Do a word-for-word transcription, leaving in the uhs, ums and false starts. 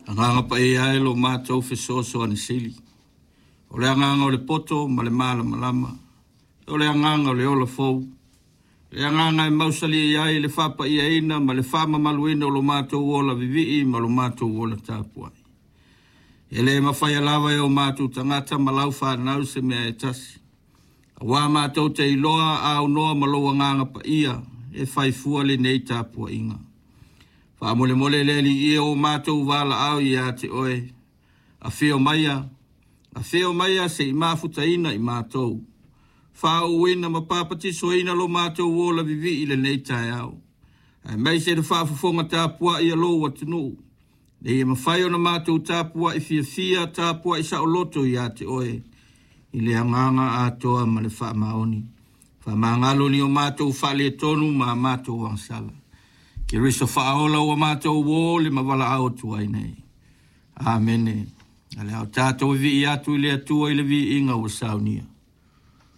Agaga Paia e lo matou fesoasoani sili, o le agaga o le poto ma le malamalama, o le agaga o le ola fou, le agaga e mausali ai le faapaiaina ma le faamamaluina o lo matou ola vivii ma lo matou ola tapuai. E le mafaia lava e o matou tagata ma lau fanau se mea e tasi, auā matou te iloa a aunoa ma lou Agaga Paia e fai fua lenei tapuaiga. Faamolemole le Alii e, o matou valaau ia te oe, afio maia, afio maia se i mafutaina i matou, faauuina ma papatisoina lo matou ola vivii i lenei taeao, aemaise le faafofoga tapuai a lou atunuu, ina ia mafai ona matou tapuai fiafia, tapuai saoloto ia te oe i le agaga atoa ma le faamaoni. Faamagalo ni o matou faaletonu ma a matou agasala. Keriso faaola ua matou o le ma valaau atu ai nei. Amene. A le o tatou vivii atu i le Atua i le viiga ua saunia.